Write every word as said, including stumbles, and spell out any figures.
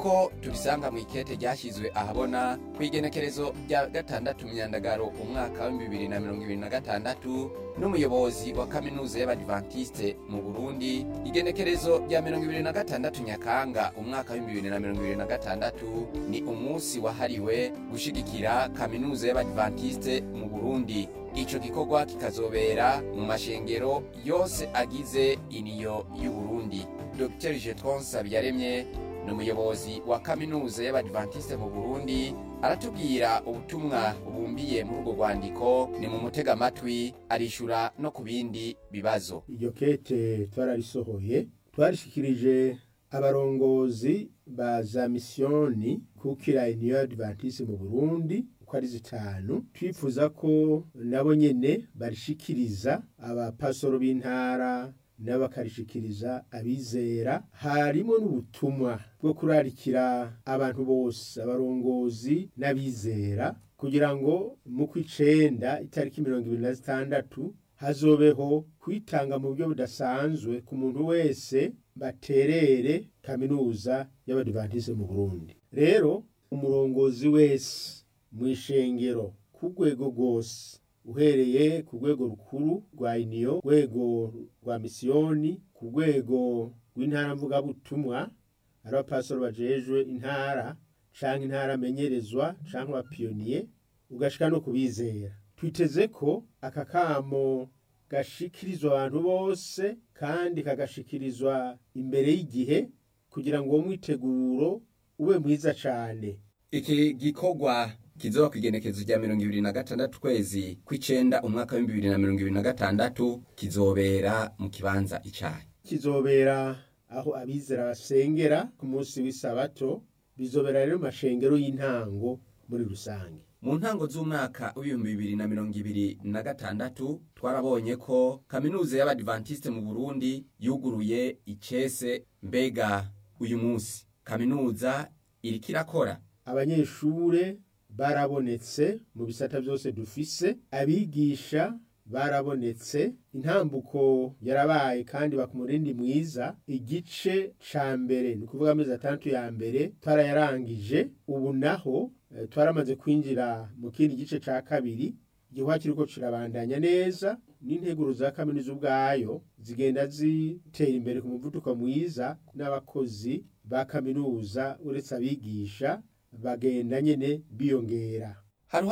Nk'uko tubisanga mu ikete ryashyizwe ahabona ku igenekerezo rya gatandatu Myandagaro umwaka w'ibihumbi bibiri na mirongo ibiri na gatandatu n'umuyobozi wa Kaminuza y'Abadivantiste mu Burundi, igenekerezo rya mirongo ibiri na gatandatu Nyakanga umwaka w'ibihumbi bibiri na mirongo ibiri na gatandatu ni umunsi wahariwe gushigikira Kaminuza y'Abadivantiste mu Burundi. Ico gikorwa kikazobera mu mashengero yose agize Iniyo y'u Burundi. Dogiteri Jetron Sabiyaremye ni umuyobozi wa Kaminuza y'Abadivantiste mu Burundi, aratubwira ubutumwa bubumbiye muri urwo rwandiko. Ni mu mutega amatwi, arishura no ku bindi bibazo. Iryo kete twararisohoye, twarishikirije abarongozi ba za misiyoni kukira Union Adventiste mu Burundi uko ari zitanu, twifuza ko nabo nyene barishikiriza abapasoro b'intara n'abakarishikiriza abizera. Harimo n'ubutumwa bwo kurarikira abantu bose, abarongozi n'abizera, kugira ngo mu kw'icenda itariki mirongo ibiri na zitandatu hazobeho kwitanga mu buryo budasanzwe ku muntu wese baterere Kaminuza y'Abadivantiste mu Burundi. Rero umurongozi wese mu ishengero ku rwego rwose, uhereye ku rwego rukuru rwa Iniyo, rwego rwa misiyoni, ku rwego rw'intara mvugabutumwa, ari abapasoro bajejwe intara canke intara amenyerezwa canke abapiyoniye, ugashika no kubizera. Twiteze ko aka kamo gashikirizwa abantu bose kandi kagashikirizwa imbere y'igihe kugira ngo uwo mwiteguro ube mwiza cane. Iki gikorwa kizoba ku igenekerezo rya mirongo ibiri na gatandatu kwezi kw'icenda umwaka w'ibihumbi bibiri na mirongo ibiri na gatandatu kizobera mu kibanza icayi? Kizobera aho abizera basengera ku munsi w'isabato, bizobera rero mu mashengero y'intango muri rusange. Mu ntango z'umwaka w'ibihumbi bibiri na mirongo ibiri na gatandatu twarabonye ko Kaminuza y'Abadivantiste mu Burundi yuguruye icese. Mbega uyu munsi kaminuza iriko irakora? Abanyeshure barabonetse mu bisata byose dufise, abigisha barabonetse, intambuko yarabaye kandi bakumurindi mwiza. Igice ca mbere, ni ukuvuga amezi atandatu ya mbere, twarayarangije. Ubu naho eh, twaramaze kwinjira mu kindi gice ca kabiri. Igikorwa kiriko kirabandanya neza n'integuro za kaminuza ubwayo zigenda zitera imbere ku muvuduko mwiza, n'abakozi ba kaminuza uretse abigisha bagenda nyene biyongera.